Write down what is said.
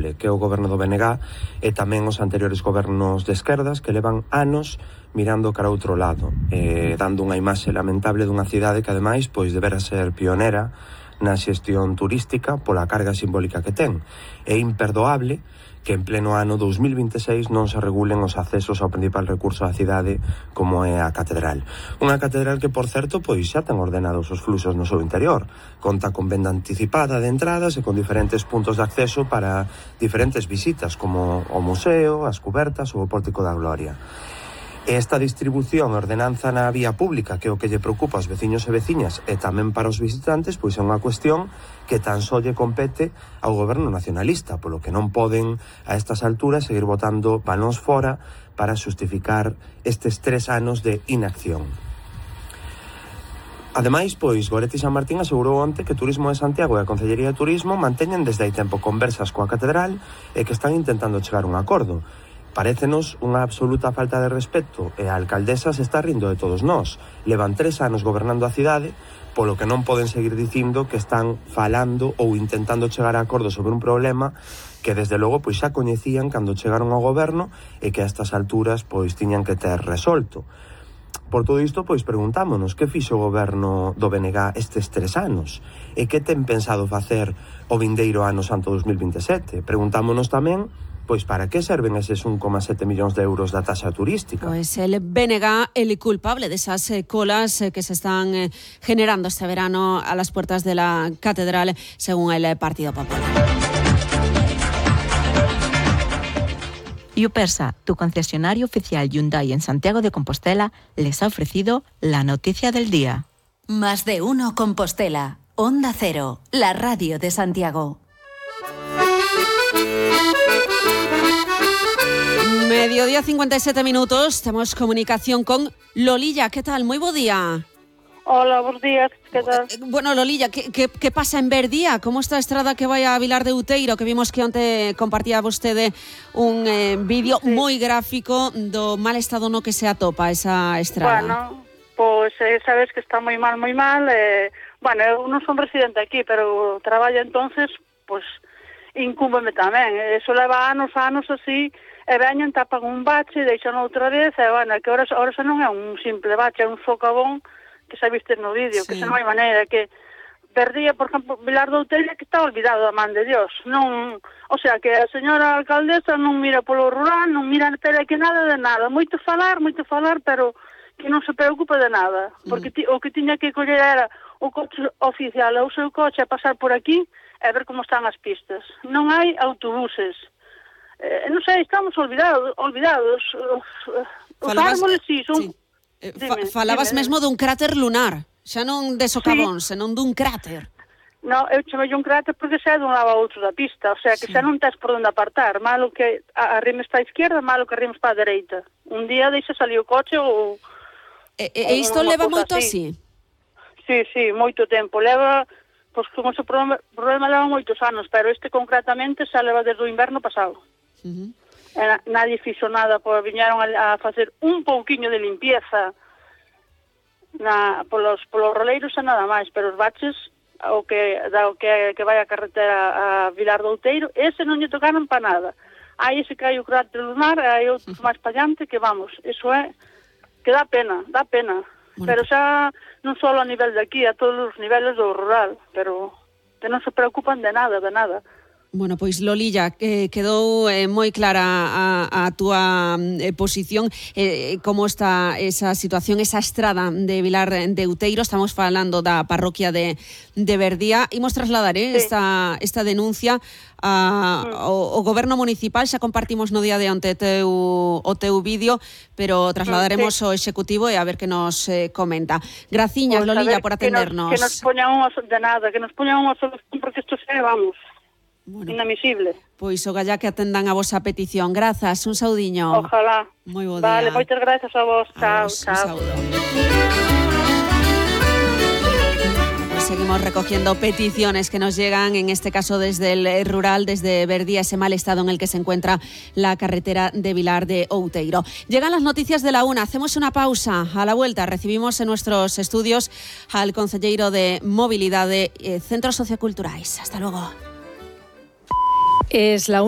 lamentable, que é o goberno do BNG e tamén os anteriores gobernos de esquerdas que levan anos mirando cara a outro lado, dando unha imaxe lamentable dunha cidade que ademais pois debera ser pionera na xestión turística pola carga simbólica que ten. É imperdoable que en pleno ano 2026 non se regulen os accesos ao principal recurso da cidade como é a catedral. Unha catedral que, por certo, pois xa ten ordenados os fluxos no seu interior. Conta con venda anticipada de entradas e con diferentes puntos de acceso para diferentes visitas como o museo, as cubertas ou o Pórtico da Gloria. Esta distribución e ordenanza na vía pública, que é o que lle preocupa aos veciños e veciñas e tamén para os visitantes, pois é unha cuestión que tan só lle compete ao goberno nacionalista, polo que non poden a estas alturas seguir botando balóns fora para xustificar estes 3 anos de inacción. Ademais, pois, Goretti San Martín asegurou onte que Turismo de Santiago e a Concellería de Turismo manteñen desde hai tempo conversas coa catedral e que están intentando chegar a un acordo. Parécenos unha absoluta falta de respeto e a alcaldesa se está rindo de todos nós. Levan 3 anos gobernando a cidade, polo que non poden seguir dicindo que están falando ou intentando chegar a acordo sobre un problema que desde logo pois xa coñecían cando chegaron ao goberno e que a estas alturas pois tiñan que ter resolto. Por todo isto, pois preguntámonos que fixo o goberno do BNG estes 3 anos e que ten pensado facer o vindeiro ano santo 2027. Preguntámonos tamén pois para que serven eses 1,7 millóns de euros da taxa turística. Pues el BNG, el culpable de esas colas que se están generando este verano a las puertas de la catedral, según el Partido Popular. Yupersa, tu concesionario oficial Hyundai en Santiago de Compostela, les ha ofrecido la noticia del día. Más de uno Compostela. Onda Cero, la radio de Santiago. Mediodía 57 minutos, tenemos comunicación con Lolilla. ¿Qué tal? Muy buen día. Hola, buenos días. ¿Qué tal? Bueno, Lolilla, ¿qué pasa en Verdía? ¿Cómo está a estrada que vai a Vilar de Outeiro? Que vimos que onte compartía vostede un vídeo moi gráfico do mal estado no que se atopa esa estrada. Bueno, pues sabes que está moi mal, moi mal. Bueno, eu non son residente aquí, pero traballo entonces, pues incúmbeme tamén. Eso leva anos así. E veñen, tapan un bache, deixan outra vez, e bueno, que ahora xa non é un simple bache, é un socavón que xa viste no vídeo, sí. Que xa non hai maneira, que Verdía, por exemplo, Vilar de Outeiro, que está olvidado a man de Dios, non, o sea, que a señora alcaldesa non mira polo rural, non mira que nada de nada, moito falar, pero que non se preocupa de nada, porque o que tiña que coller era o coche oficial, o seu coche a pasar por aquí, e ver como están as pistas. Non hai autobuses. Non sei, estamos olvidados. Os árboles sí son... Falabas mesmo dun cráter lunar, xa non de socavón, sí. Senón dun cráter. No, eu chamei un cráter porque xa é dun lado a outro da pista, o sea que sí. Xa non tes por onde apartar, malo que arrimes para a izquierda, malo que arrimes para a dereita. Un día deixa salir o coche ou... E isto leva moito así? Sí, moito tempo, leva... Pois como ese problema leva moitos anos, pero este concretamente xa leva desde o inverno pasado. Nadie fixo nada, pois viñeron a facer un pouquiño de limpieza polos roleiros e nada máis, pero os baches o que vai a carretera a Vilar de Outeiro, ese non lle tocaron para nada. Aí ese que hai o cráter lunar, hai outros máis para allante que vamos, eso é que dá pena. Bueno. Pero xa non só a nivel de aquí, a todos os niveles do rural, pero que non se preocupan de nada. Bueno, pois Lolilla, quedou moi clara a túa posición, como está esa situación, esa estrada de Vilar de Outeiro. Estamos falando da parroquia de Verdía. Imos trasladar sí. esta denuncia ao goberno municipal. Xa compartimos no día de onte o teu vídeo, pero trasladaremos ao executivo e a ver que nos comenta. Graciñas, pues, Lolilla, por atendernos. Que nos poñan unha solución, porque isto xa vamos... Bueno, inadmisible. Pois o galla que atendan a vosa petición. Grazas, un saudiño. Ojalá. Moi bo día. Vale, moitas grazas a vos. Chao. Seguimos recogiendo peticiones que nos llegan, en este caso desde el rural, desde Verdía, ese mal estado en el que se encuentra la carretera de Vilar de Outeiro. Llegan las noticias de la 1, hacemos una pausa. A la vuelta recibimos en nuestros estudios al concelleiro de Movilidade, Centros Socioculturais. Hasta luego. Es la 1.